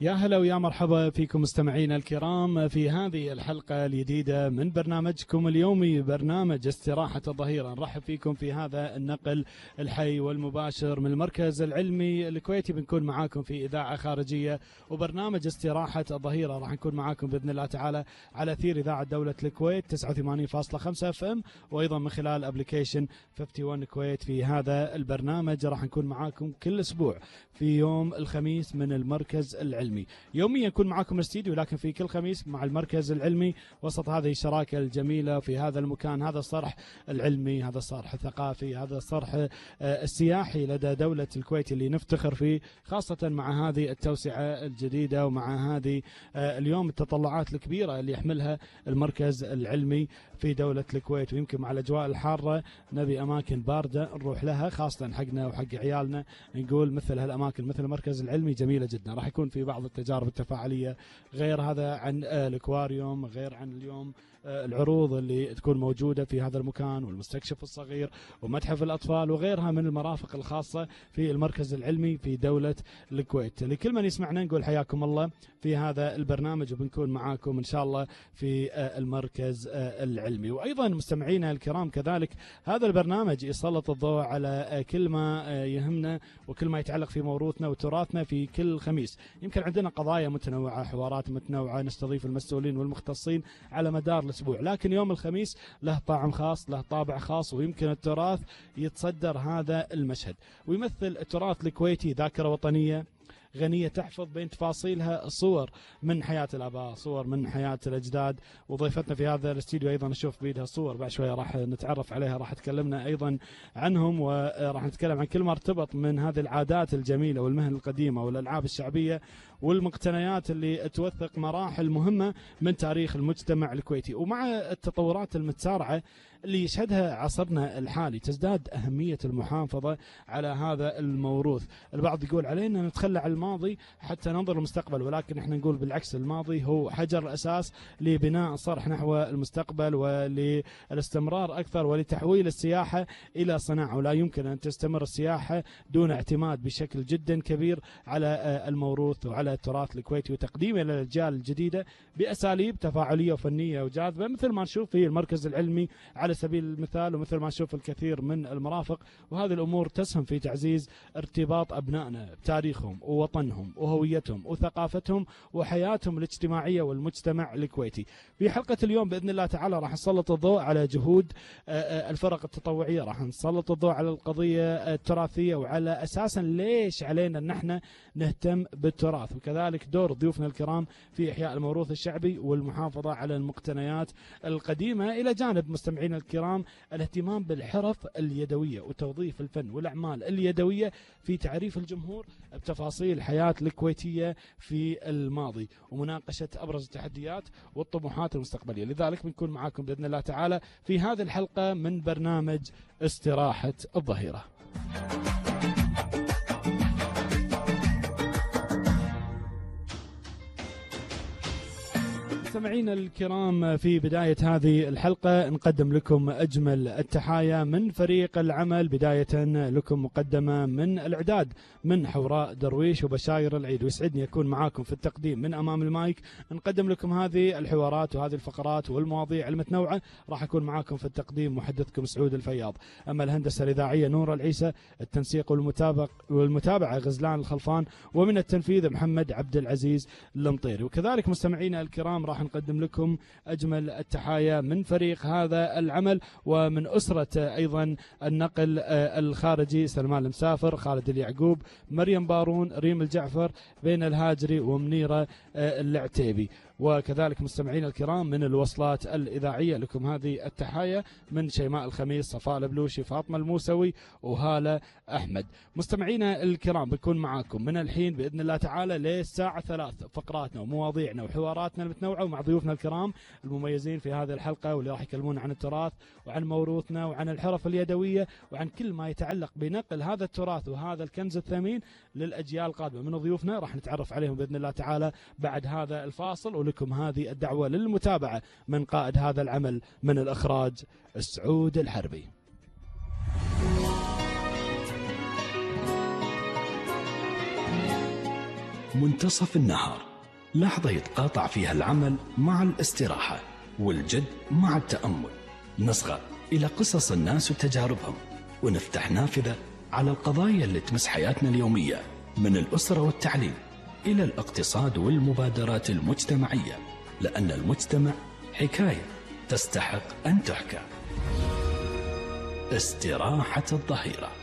يا هلا ويا مرحبا فيكم مستمعينا الكرام في هذه الحلقة الجديدة من برنامجكم اليومي برنامج استراحة الظهيرة. نرحب فيكم في هذا النقل الحي والمباشر من المركز العلمي الكويتي. بنكون معاكم في إذاعة خارجية وبرنامج استراحة الظهيرة راح نكون معاكم بإذن الله تعالى على أثير إذاعة دولة الكويت 89.5 FM، وأيضا من خلال أبليكيشن 51 كويت. في هذا البرنامج راح نكون معاكم كل أسبوع في يوم الخميس من المركز العلمي. يوميا يكون معكم الاستديو، لكن في كل خميس مع المركز العلمي وسط هذه الشراكة الجميلة في هذا المكان. هذا الصرح العلمي، هذا الصرح الثقافي، هذا الصرح السياحي لدى دولة الكويت اللي نفتخر فيه، خاصة مع هذه التوسعة الجديدة ومع هذه اليوم التطلعات الكبيرة اللي يحملها المركز العلمي في دولة الكويت. ويمكن مع الأجواء الحارة نبي أماكن باردة نروح لها، خاصة حقنا وحق عيالنا. نقول مثل هالأماكن مثل المركز العلمي جميلة جدا. راح يكون في بعض التجارب التفاعلية، غير هذا عن الأكواريوم، غير عن اليوم العروض اللي تكون موجودة في هذا المكان، والمستكشف الصغير ومتحف الأطفال وغيرها من المرافق الخاصة في المركز العلمي في دولة الكويت. لكل من يسمعنا نقول حياكم الله في هذا البرنامج، وبنكون معاكم إن شاء الله في المركز العلمي. وأيضا مستمعينا الكرام كذلك هذا البرنامج يسلط الضوء على كل ما يهمنا وكل ما يتعلق في موروثنا وتراثنا في كل خميس. يمكن عندنا قضايا متنوعة، حوارات متنوعة، نستضيف المسؤولين والمختصين على مدار الأسبوع، لكن يوم الخميس له طعم خاص، له طابع خاص، ويمكن التراث يتصدر هذا المشهد ويمثل التراث الكويتي ذاكرة وطنية غنية تحفظ بين تفاصيلها صور من حياة الآباء، صور من حياة الأجداد. وضيفتنا في هذا الاستديو أيضا نشوف بيدها صور، بعد شوية راح نتعرف عليها، راح تكلمنا أيضا عنهم، وراح نتكلم عن كل ما ارتبط من هذه العادات الجميلة والمهن القديمة والألعاب الشعبية والمقتنيات اللي توثق مراحل مهمة من تاريخ المجتمع الكويتي. ومع التطورات المتسارعة اللي يشهدها عصرنا الحالي تزداد أهمية المحافظة على هذا الموروث. البعض يقول علينا نتخلى عن الماضي حتى ننظر للمستقبل، ولكن احنا نقول بالعكس، الماضي هو حجر الأساس لبناء صرح نحو المستقبل وللاستمرار أكثر ولتحويل السياحة إلى صناعة. ولا يمكن أن تستمر السياحة دون اعتماد بشكل جدا كبير على الموروث وعلى التراث الكويتي وتقديمه للأجيال الجديدة بأساليب تفاعلية وفنية وجاذبة، مثل ما نشوف في المركز العلمي على سبيل المثال، ومثل ما نشوف الكثير من المرافق. وهذه الأمور تسهم في تعزيز ارتباط أبنائنا بتاريخهم ووطنهم وهويتهم وثقافتهم وحياتهم الاجتماعية والمجتمع الكويتي. في حلقة اليوم بإذن الله تعالى راح نسلط الضوء على جهود الفرق التطوعية، راح نسلط الضوء على القضية التراثية وعلى أساسا ليش علينا أن احنا نهتم بالتراث، وكذلك دور ضيوفنا الكرام في إحياء الموروث الشعبي والمحافظة على المقتنيات القديمة، إلى جانب مستمعينا الكرام الاهتمام بالحرف اليدوية وتوظيف الفن والأعمال اليدوية في تعريف الجمهور بتفاصيل الحياة الكويتية في الماضي ومناقشة أبرز التحديات والطموحات المستقبلية. لذلك بنكون معاكم بإذن الله تعالى في هذه الحلقة من برنامج استراحة الظهيرة. مستمعينا الكرام في بداية هذه الحلقة نقدم لكم أجمل التحايا من فريق العمل، بداية لكم مقدمة من الإعداد من حوراء درويش وبشاير العيد. ويسعدني أكون معاكم في التقديم من أمام المايك، نقدم لكم هذه الحوارات وهذه الفقرات والمواضيع المتنوعة. راح أكون معاكم في التقديم محدثكم سعود الفياض. أما الهندسة الإذاعية نور العيسى، التنسيق والمتابعة غزلان الخلفان، ومن التنفيذ محمد عبد العزيز المطيري. وكذلك مستمعينا الكرام راح نقدم لكم أجمل التحايا من فريق هذا العمل ومن أسرة أيضا النقل الخارجي: سلمان المسافر، خالد اليعقوب، مريم بارون، ريم الجعفر، بين الهاجري، ومنيرة العتيبي. وكذلك مستمعين الكرام من الوصلات الإذاعية لكم هذه التحايا من شيماء الخميس، صفاء البلوشي، فاطمة الموسوي، وهالة أحمد. مستمعينا الكرام بنكون معاكم من الحين بإذن الله تعالى للساعة 3 فقراتنا ومواضيعنا وحواراتنا المتنوعة ومع ضيوفنا الكرام المميزين في هذه الحلقة، واللي راح يكلمون عن التراث وعن موروثنا وعن الحرف اليدوية وعن كل ما يتعلق بنقل هذا التراث وهذا الكنز الثمين للأجيال القادمة. من ضيوفنا راح نتعرف عليهم بإذن الله تعالى بعد هذا الفاصل، ولكم هذه الدعوة للمتابعة من قائد هذا العمل من الإخراج سعود الحربي. منتصف النهار، لحظة يتقاطع فيها العمل مع الاستراحة والجد مع التأمل. نصغى إلى قصص الناس وتجاربهم، ونفتح نافذة على القضايا اللي تمس حياتنا اليومية، من الأسرة والتعليم إلى الاقتصاد والمبادرات المجتمعية، لأن المجتمع حكاية تستحق أن تحكى. استراحة الظهيرة.